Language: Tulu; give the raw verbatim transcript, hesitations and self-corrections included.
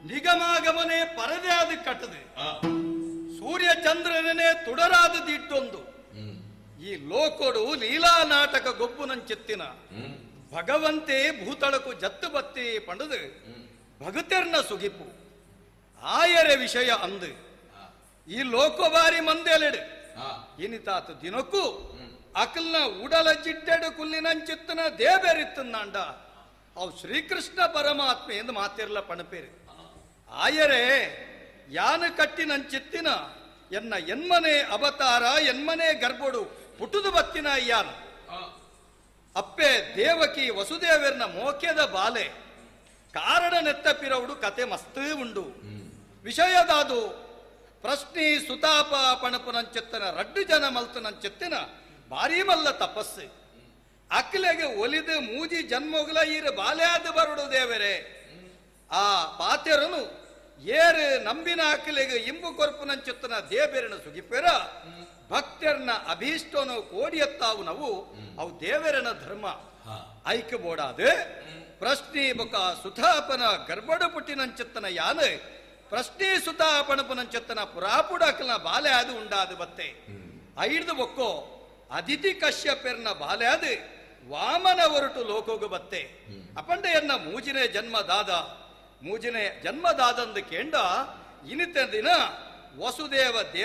ನಿಗಮಾಗಮನೆ ಪರದೆ ಆದ ಕಟ್ಟದೆ ಸೂರ್ಯ ಚಂದ್ರನೇ ತುಡರಾದ ದಿಟ್ಟೊಂದು ಈ ಲೋಕೊಡು ಲೀಲಾ ನಾಟಕ ಗೊಬ್ಬುನಂಚೆತ್ತಿನ ಭಗವಂತೆ ಭೂತಳಕು ಜತ್ತು ಬತ್ತಿ ಪಂಡದು ಭಗತೆರ್ನ ಸುಗಿಪು ಆಯರೆ ವಿಷಯ ಅಂದು ಈ ಲೋಕೋಬಾರಿ ಮಂದೆಲೆಡು ಇನಿತಾತ ದಿನಕ್ಕೂ ಅಕಲ್ನ ಉಡಲ ಜಿಡ್ಡೆಡು ಕುಲ್ಲಿನಂಚಿತ್ತನ ದೇಬೇರಿತ್ತಂದಾಂಡ ಅವು ಶ್ರೀಕೃಷ್ಣ ಪರಮಾತ್ಮೆ ಎಂದು ಮಾತಿರ್ಲ ಪಣಪೇರು. ಆಯರೆ ಯಾನ ಕಟ್ಟಿನಂಚಿತ್ತಿನ ಎನ್ನ ಎನ್ಮನೆ ಅವತಾರ ಎನ್ಮನೆ ಗರ್ಭೋಡು ಪುಟುದು ಬತ್ತಿನ ಯಾನ ಅಪ್ಪೆ ದೇವಕಿ ವಸುದೇವರ್ನ ಮೋಕ್ಯದ ಬಾಲೆ ಕಾರಣ ನೆತ್ತಪಿರವುಡು ಕತೆ ಮಸ್ತ್ ಉಂಡು. ವಿಷಯದಾದು ಪ್ರಶ್ನೆ ಸುತಾಪ ಪಣಪುನಂచెತ್ತನ ರಡ್ಡು ಜನ ಮಲ್ತನಂచెತ್ತಿನ ಭಾರೀ ಮಲ್ಲ ತಪಸ್ಸು ಅಕ್ಲೆಗೆ ಒಲಿದು ಮೂಜಿ ಜನ್ಮೋಗ್ಲ ಈರು ಬಾಲ್ಯಾದ ಬರುಡು ದೇವರೇ. ಆ ಪಾತೆರನು ಏರು ನಂಬಿನ ಅಕ್ಲೆಗೆ ಇಂಬು ಕೊರ್ಪುನಂచెತ್ತನ ದೇಬೇರನ ಸುಗಿಪೆರ ಭಕ್ತರ್ನ ಅಭೀಷ್ಟನು ಕೋಡಿಯತ್ತಾವು ನಾವು ಅವು ದೇವರನ ಧರ್ಮ ಐಕ್ಯ ಬೋಡಾದ ಪ್ರಶ್ನೆ ಬೊಕ ಸುತಾಪನ ಗರ್ಭಡು ಪುಟ್ಟಿನಂచెತ್ತನ ಯಾನ ಪ್ರಶ್ನೆ ಸುತಾಪಣಪುನಂచెತ್ತನ ಪುರಾಪುಡಕಲ್ನ ಬಾಲೆ ಅದು ಉಂಡಾದು ಬತ್ತೆ ಐಡ್ದು ಬೊಕ್ಕೋ ಅದಿತಿ ಕಶ್ಯಪೆರ್ನ ಬಾಲೆ ಅದು ವಾಮನ ಹೊರಟು ಲೋಕೋಗು ಬತ್ತೆ ಅಪಂಡೆಯನ್ನ ಮೂಜಿನೇ ಜನ್ಮದಾದ ಮೂಜಿನೇ ಜನ್ಮದಾದಂದು ಕೇಂಡ ಇನಿತ ದಿನ ವಸುದೇವ ದೇವ